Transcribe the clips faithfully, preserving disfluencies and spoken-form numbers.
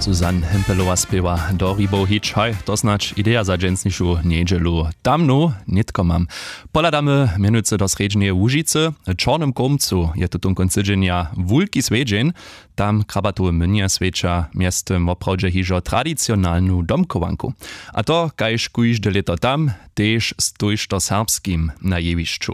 Susanne Hempelowa spěwa do Ribow hić, haj, to snadź ideja za dźensnišu njedźelu. Tamnu nětko mam. Pohladamy mjenujcy do srjedźneje Łužicy. W Čornym Kómcu je tuton kónc tydźenja wulki swjedźeń. Tam krabatowe mynje swjeća mjeztym woprawdźe hižo tradicionalnu domchowanku. A to kaž kóžde lěto tam, tež z tójšto serbskim na jewišću.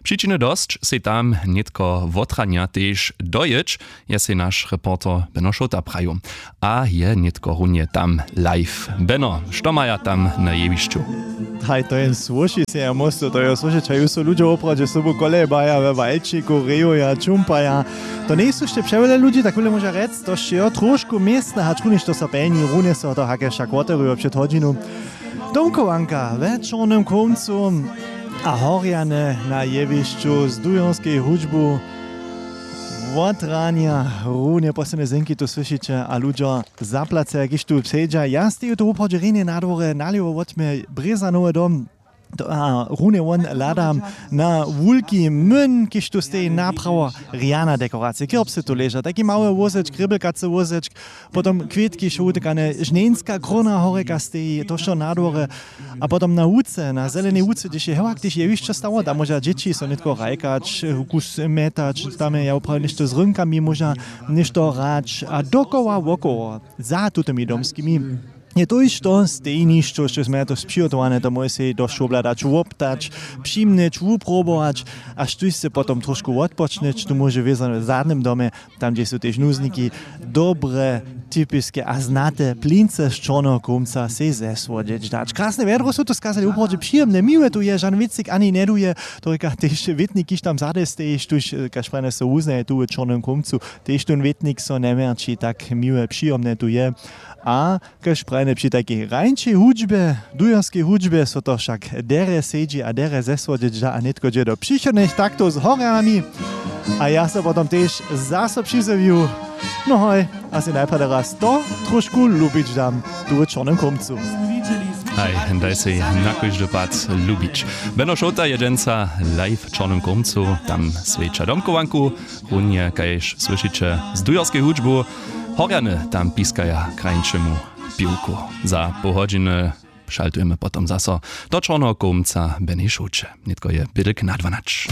Přičiny dosć sej tam nětko wotranja tež dojěć, je sej naš reporter Beno Šołta prajił. A je nětko runje tam live. Beno, što maja tam na jewišću? Haj, to je słyši sej ja móstu, to je słyšeć, haj, su ludźo woprawdźe sobu kolejbaja we walčiku, rejuja, čumpaja. To njejsu sće přewjele ludźi, tak wule móža rjec, to sće jo trošku městne, hač runjež to so pjelni, runje so to hake wšak woteruje před hodźinu. Domchowanka we Čornym Kómcu a horjane na jewišću z dujorskeju hudźbu. Wotranja runje poslednje zenki tu słyšiće a ludźo zaplace, kiž tu předźa. Ja steju tu woprawdźe rjenje na dworje, nalěwo wot mje brězanowy dom. To, a runje won hladam na wulki myn, kiž tu steji, naprawo rjana dekoracija. Kirbsy tu leža, taki mały wózečk, grěbelkacy wózečk, potom kwětki, šołtykane, žnjenska króna horjeka steji, to wšo na dworje. A potom na łuce, na zelenej łuce, hdyž je hewak, hdyž je hišće stało, tam móža dźěći so nětko hrajkać, kus mjetać, tam je ja woprawdźe něšto z rynkami móža něšto hrać a dokoła wokoło za tutymi domskimi je to hišće stejnišćo, što smy to přihotowane, to móže sej dosć wobhladać, woptać, přimnyć, wuprobować, a štóž sej potom trošku wotpočnyć, tu móže wězo w zadnym domje, tam hdźež su tež nuzniki, dobre, typiske a znate plince z Čorneho Kómca sej zesłodźeć dać. Krasne wjedro su tu skazali, wuprawdźe přijomne, miłe tu je, žan wětřik ani njeduje, to rěka tež wětnik, kiž tam zady steji, štóž, kaž prajene, so wuznaje tu w Čornym Kómcu, tež tón wětnik so njeměrći, tak miłe, přijomne tu je. A kaž prajene, při takej rańšej hudźbje, dujerskej hudźbje so to wšak derje sedźi a derje zesłodźeć da a nětko dźe do přichodnych taktow z horjanami. A ja so potom tež zaso přizjewju. No hoj, a sej najprjedy raz to trošku lubić dam tu w Čornym Kómcu. Haj, daj sej na kóždy pad lubić. Beno Šołta je dźensa live w Čornym Kómcu, tam swjeća domchowanku, runje kaž słyšiće z dujerskeju hudźbu. Horjany tam piskaja krańšemu piwku. Za poł hodźiny šaltujemy potom zaso do Čorneho Kómca, Beny Šołće. Nětko je bědlk na dwanać.